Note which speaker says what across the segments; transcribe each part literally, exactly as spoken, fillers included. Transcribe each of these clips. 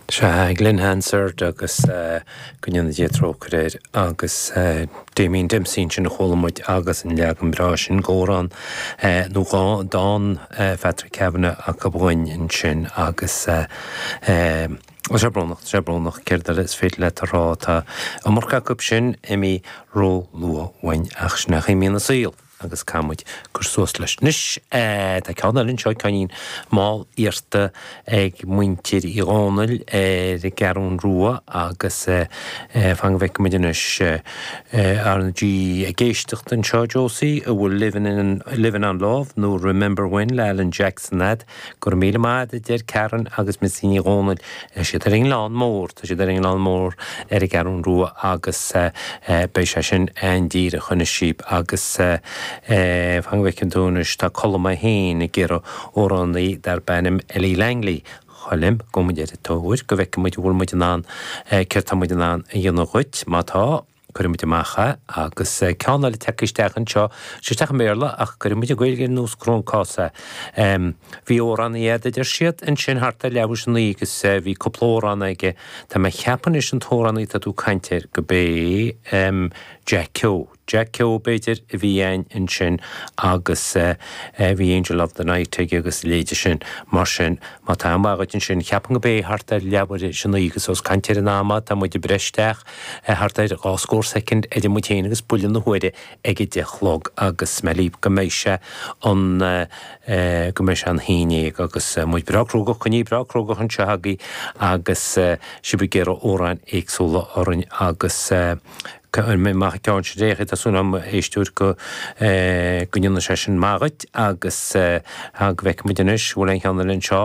Speaker 1: Sea, Glen Hansard agus go ndéana Dia trócaire air agus Damien Dempsey ansin a chuala muid agus an leagan breá sin d'amhrán nó dhá dán Phatrick Kavanagh acu againn ansin agus tá sé brónach, tá sé brónach, céard eile is féidir leat a rá, tá iomarca acu sin imithe ró-luath uainn ach sin é a imíonn an saol. Agus caithfidh muid cur suas leis. Anois, tá ceann eile anseo, ceainnín mall iarrta ag muintir Uí Dhónaill ar an gCeathrún Rua agus fan go bhfeicfidh muid anois R na G ag éisteacht anseo, Josie, an bhfuil Livin' in, Livin' on Love nó Remember When le Alan Jackson a'd. Go raibh míle maith a'd, a deir Karen agus Mitzi Ní Dhónaill. Tá siad ar an nGleann Mór, tá siad ar an nGleann Mór ar an gCeathrún Rua agus beidh sé sin an-díreach anois síb agus fan go bhfeiceann tú anois, tá Colm é féin ag iarraidh amhránaí darb ainm Ellie Langley. Choilm, gabhfaidh muid ar an tóir go bhfeicfidh muid an bhfuil muid in ann, céard tá muid in ann a dhéanamh dhuit, má tá. Cuirfidh muid amach é agus ceann eile tagtha isteach anseo, sé isteach i mBéarla ach cuirfidh muid i nGaeilge ar nós gur ón cás é. Bhí amhránaí a'd a deir siad ansin thart ar leathuair théis a naoi agus bhí cúpla amhrán aige. Tá mé ag ceapadh anois an t-amhránaí atá tú ag caint air go b'é Jack Keogh. Jack Keogh b'fhéidir a bhí a'inn ansin agus bhí Angel of the Night aige agus a leithéide sin. Mar sin, má tá am maith agat ansin, cheapfainn go b'é thart ar leathuair théis a naoi agus ós caint ar an am tá muid ag breith isteach thart ar dhá scór soicind idir muid féin agus buille na huaire ag a deich a chlog agus mé ag go mbeidh sé an go mbeidh sé an haon déag agus muid breá crógach, coinnithe breá crógach anseo agaibh agus sibh ag iarraidh amhráin éagsúla orainn agus Cuirfidh mé amach an ceann seo réidh, tá súil agam, a éisteoir, go go ndéanfaidh sé sin maith dhuit agus go bhfeicfidh muid anois, bhfuil aon cheann eile anseo.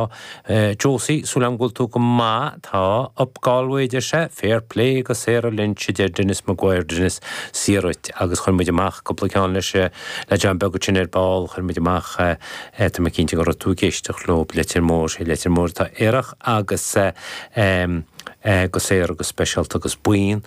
Speaker 1: Josie, súil agam go bhfuil tú go maith, tá, Up Galway, a deir sé, fair play go Sarah Lynch, a deir Denis Maguire, Denis, saor dhuit agus chuir muid amach cúpla ceann leis le John Beag ansin ar ball, chuir muid amach, tá mé cinnte go raibh tú ag éisteacht leo, Leitir Móir, sé Leitir Móir atá aerach agus. go Sarah go speisialta agus bonn,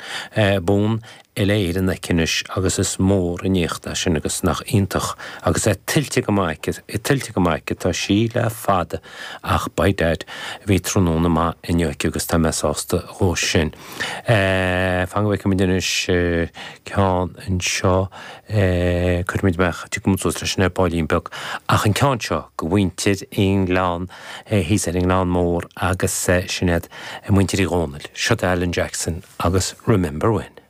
Speaker 1: bonn uile-Éireann aici anois agus is mór an éacht é sin agus nach iontach agus é tuillte go maith aici, é tuillte go maith aici, tá sí le fada ach by dad bhí tráthnóna maith inniu aici agus tá mé sásta dhó sin. Fan go bhfeicfidh muid anois ceann anseo, cuirfidh muid amach, tiocfaidh muid suas leis sin ar baillín beag ach an ceann seo go mhuintir an Ghleann thíos ar an nGleann Mór agus sin iad muintir Uí Dhónaill. Seo Alan Jackson agus Remember When.